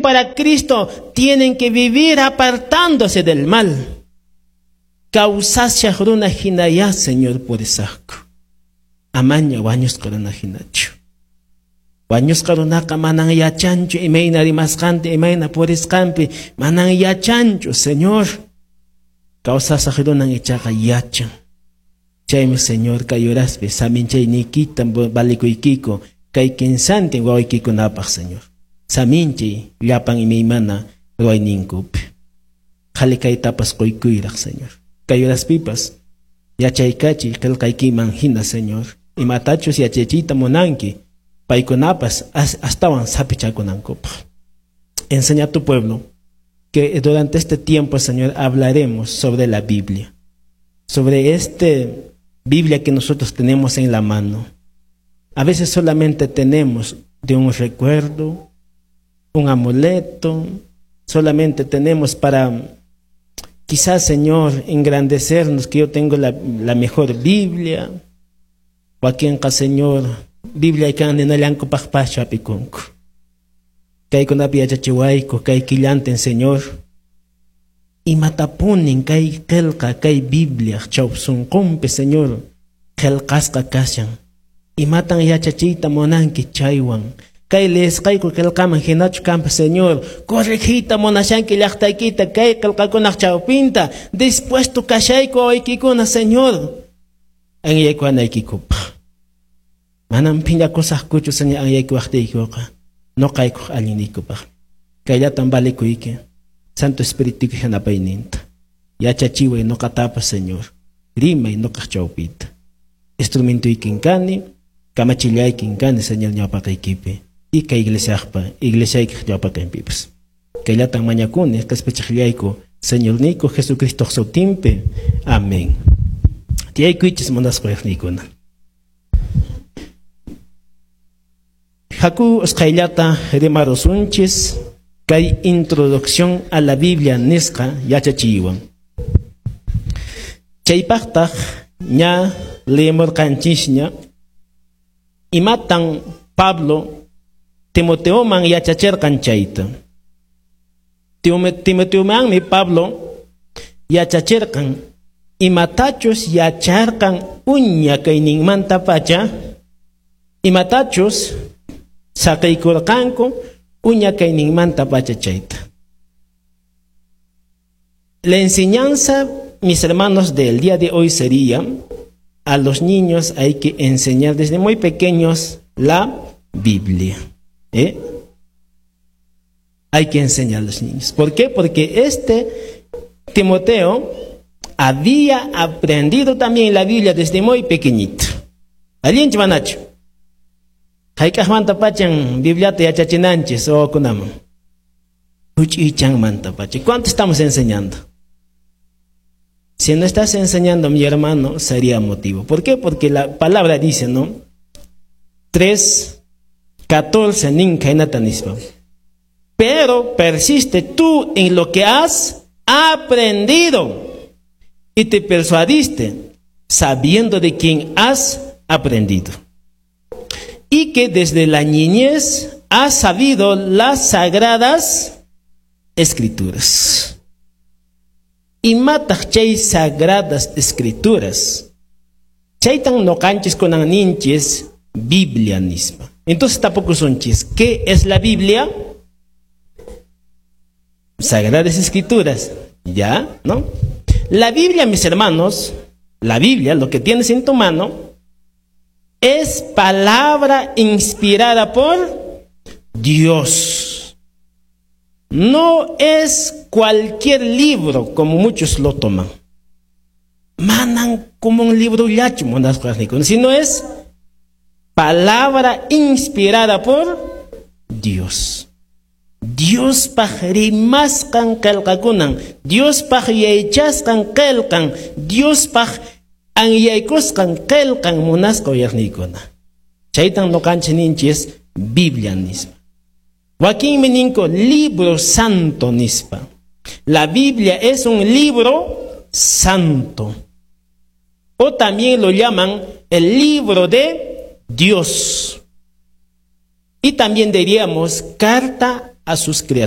para Cristo tienen que vivir apartándose del mal. Kawsashaq runa hinayá, Señor, purisaqku. Amaña wañusqa runa hinachu. Wañusqa runaqa manan yachanchu imayna rimasqanta, imayna purisqanpi, manan yachanchu, Señor. Kawsashaq runan ichaqa yachan. Chaymi, Señor, kay horaspi saminchayniykita valikuykiku kay kinsantin wawaykikunapaq, Señor. Saminchay llapan imaymana ruwayninkupi. Qhali kaytapas quykuyraq, Señor. Kay horaspipas yachaykachiy qillqaykiman hina, Señor. Imatachus yachachiyta munanki, paykunapas astawan sapichakunankupaq. Enseña a tu pueblo que durante este tiempo, Señor, hablaremos sobre la Biblia, sobre este Biblia que nosotros tenemos en la mano. A veces solamente tenemos de un recuerdo, un amuleto, solamente tenemos para quizás, Señor, engrandecernos que yo tengo la mejor Biblia. Wakinqa, Señor, Biblia kan ninallankupaqpaschu hap'ikunku. Kaykunapi yachachiwayku, kay killantin, Señor. Imatapunin kay qillqa, kay Biblia chawpi sunqunpi, Señor, qillqasqa kashan. Imatan yachachiyta munanki chaywan. Kay leesqayku qillqaman hinachu kanpas, Señor, corregiyta munashanki llaqtaykita kay qillqakunaq chawpinta, dispuesto kashayku wawaykikuna, Señor, anyaykuwanaykikupaq. Manam phiñakusaqkuchu, Señor, anyaykuwaqtiykuqa, nuqaykuq allinniykupaq. Kayllatan valikuyki, Santo Espíritu yanapayninta. Yachachiway nuqatapas, Señor, rimay nuqaq chawpita. Instrumentuykin kani, kamachillaykin kani, Señor, ñawpaqaykipi. Y kay iglesiaqpa, iglesiaykiq ñawpaqinpipas. Kayllatan mañakuni, qhispichiqllayku, Señorniyku Jesucristo sutinpi. Amén. Tiyaykuychis munasqa uyaqniykuna. Haku usqhayllata rimarusunchis kay introducción a la Biblia nisqa yachachiywan. Chaypaqtaq ña leemurqanchisña imatan Pablo Timoteoman yachachirqan chayta. Timoteomanmi Pablo yachachirqan imatachus yacharqan uña kayninmanta pacha, imatachus saqiykurqanku uña kayninmanta pacha chayta. La enseñanza, mis hermanos, del día de hoy sería: a los niños hay que enseñar desde muy pequeños la Biblia. ¿Eh? Hay que enseñar a los niños. ¿Por qué? Porque este Timoteo había aprendido también la Biblia desde muy pequeñito. Allinchu manachu? Hayk'aqmanta pachan Bibliata yachachinanchis wawakunaman? Huch'uychanmanta pacha. ¿Cuánto estamos enseñando? Si no estás enseñando, mi hermano, sería motivo. ¿Por qué? Porque la palabra dice, ¿no? 3:14 nin khaynata nispa. Pero persiste tú en lo que has aprendido y te persuadiste, sabiendo de quién has aprendido. Y que desde la niñez has sabido las sagradas escrituras. Imataq chay sagradas escrituras? Chaytan nuqanchis kunan ninchis Biblia nispa. Entonces tapukusunchis, ¿qué es la Biblia? Sagradas Escrituras, ¿ya? ¿No? La Biblia, mis hermanos, la Biblia, lo que tienes en tu mano, es palabra inspirada por Dios. No es cualquier libro como muchos lo toman. Manan como un libro llachu, sino es palabra inspirada por Dios. Diospaq rimasqan qillqakunan, Diospaq yachasqan qillqan, Diospaq anyaykusqan qillqan munasqa uyaqniykuna. Chaytan nuqanchis ninchis Biblia nispa. Wakinmi ninku libro santo nispa. La Biblia es un libro santo. O también lo llaman el libro de Dios. Y también diríamos carta a sus criaturas.